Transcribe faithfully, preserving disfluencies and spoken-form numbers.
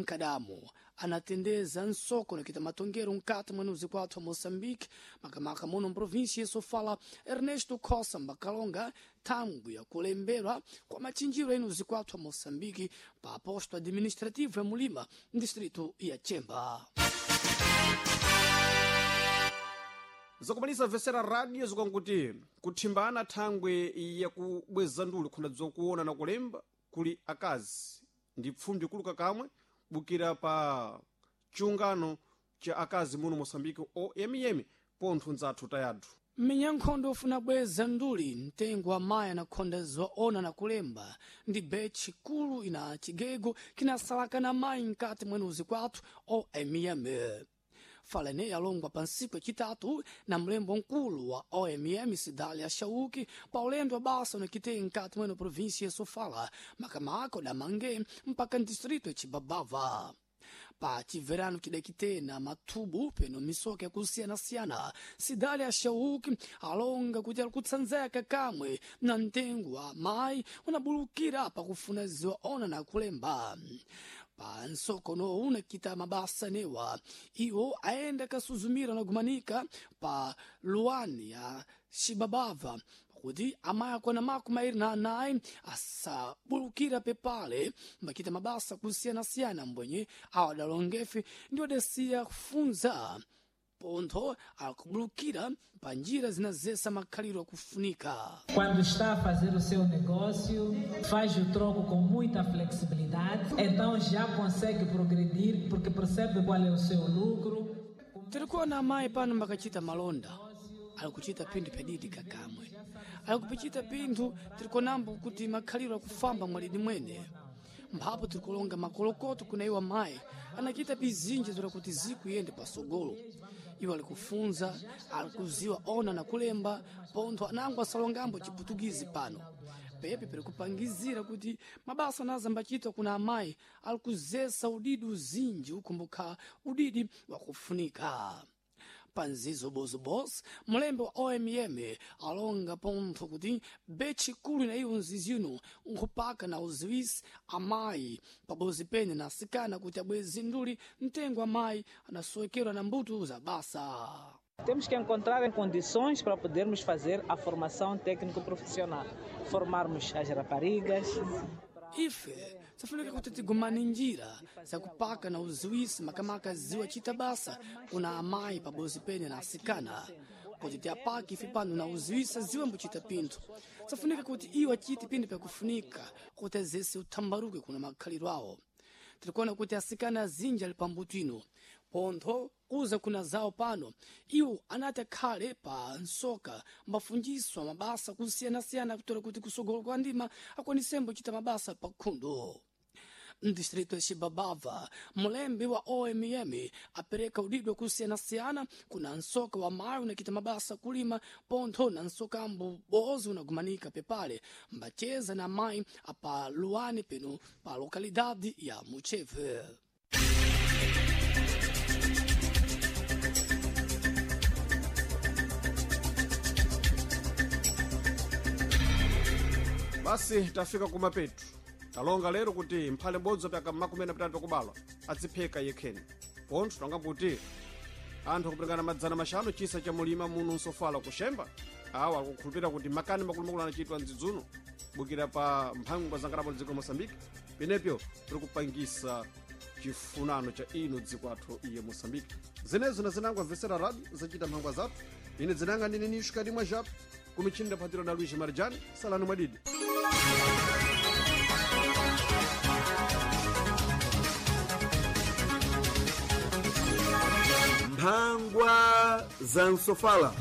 Nkadamo anatendeza nsoko nakita matongero nkati mwa nuzi kwathu wa Moçambique, makamaka muno mprovíncia Sofala, Ernesto Cossa Mbakalonga thangwi ya kulembelwa kwa machinjiro enu zikwathu wa Moçambique pa posto administrativo ya Mulima, distrito ya Chemba. Zakumalisa vesera radio zikankuti kuthimbana thangwe yakubweza nduli khona zokuona na kulemba kuli akazi ndi pfumbi kuluka kamwe bukira pa chiungano cha akazi muno Moçambique O M M pontho nzathu tayathu. Mmenyankhondo ofuna bweza nduli mtengo wa mayi anakhonda zoona na kulemba ndi betchi kulu ina chigego kinasalaka na mayi mkati mwenuzi kwathu O M M. Falene yalongwa pa ntsiku yacitatu na mlembo mkulu wa O M M Sidalia Shauki pa ulendo wa basa unakitei mkati mweno província ya Sofala, makamaka da Mangue mpaka distrito ya Chibabava pa chiverano chidakite na mathubu peno misoka yakusiyana-siyana. Sidalia Shauki alonga kuti ali kutsanzeka kamwe na mtengo wa mayi unabulukira pakufuna ziwa ona na kulemba pa nsokono unakita mabasa newa iwo aenda kasuzumira na gumanika pa luwani ya Xibabava kuti amayi akwana makumi mairi na anayi asabulukira pepale mbakita mabasa kusiyanasiyana mbwenye awadalongefe ndi odesiya kufunza pontho akubulukira pa njira zinazesa makhaliro akufunika. Quando está a fazer o seu negócio, faz o troco com muita flexibilidade, então já consegue progredir porque percebe qual é o seu lucro. Tirikuona amayi pano mbakachita malonda ali kuchita pinthu pyadidi kakamwe ali kupichita pinthu tirikonambo kuti makhaliro akufamba mwalidi mwene mphapo tirikulonga makolokoto kuna iwo amayi anachita bizinji zola kuti zikuyende pasogolo. Iwo ali kufunza, ali kuziwa ona na kulemba pontho anango asalongambo chiputukizi pano pepe piri kupangizira kuti mabasa anazambachitwa kuna amayi ali kuzesa udidi uzinji ukumbukha udidi wakufunika panzizo bozobos. Mulembe wa O M M alonga pontho kuti betchi kulu na iwo nzizino nkhupaka na uziwisi amayi pabozi pene na asikana kuti abwezi nduli mtengo amayi anasowekerwa na mbuto za basa. Temos que encontrar condições para podermos fazer a formação técnico-profissional, formarmos as raparigas. Ife safunika kuti tigumane njira zakupaka na uziwisi makamaka ziwa chita basa kuna amayi pabozi pene na asikana kuti tiapake ife pano na uziwisa ziwe mbuchita pinthu. Safunika kuti iwo achite pinthu pyakufunika kuti azese uthambaruke kuna makhaliro awo. Tirikuona kuti asikana azinji ali pambuto ino pontho kuza kuna zawo pano iwo anati akhale pa nsoka mbafunjiswa mabasa kusiyanasiyana kutola kuti kusogolo kwa ndima akwanisembo kuchita mabasa pakhundo. Mdistrito ya Xibabava, mulembi wa O M M apereka udidwe kusiyanasiyana kuna nsoka wa mayi unakita mabasa kulima pontho na nsoka ambu bozi unagumanika pepale mbacheza na mayi apa luwani peno pa lokalidade ya Mucheve. Basi tafika kumapetu. Talonga lero kuti mphale m'bodzi wapyaka makumi ana pitatu pakubalwa adzipheka yekheni pontho tonga kuti anthu akupirikana madzana maxanu chisa cha mulima muno nsofala kuxemba awa akukhulupirira kuti makani makulumakulu anachitwa mdzidzuno bukira pa mphangwa za ngalabo dziko la Moçambique penepyo tiri kupangisa chifunano cha ino dziko athu iye Moçambique. Zenezo na zinango amvesera radio zachita mphangwa zathu. Ine dzinanga ndine Nishkadi Mwajapo kumichini ndaphatira na Luiz Marjani. Salani mwadidi. Mphangwa za Nsofala.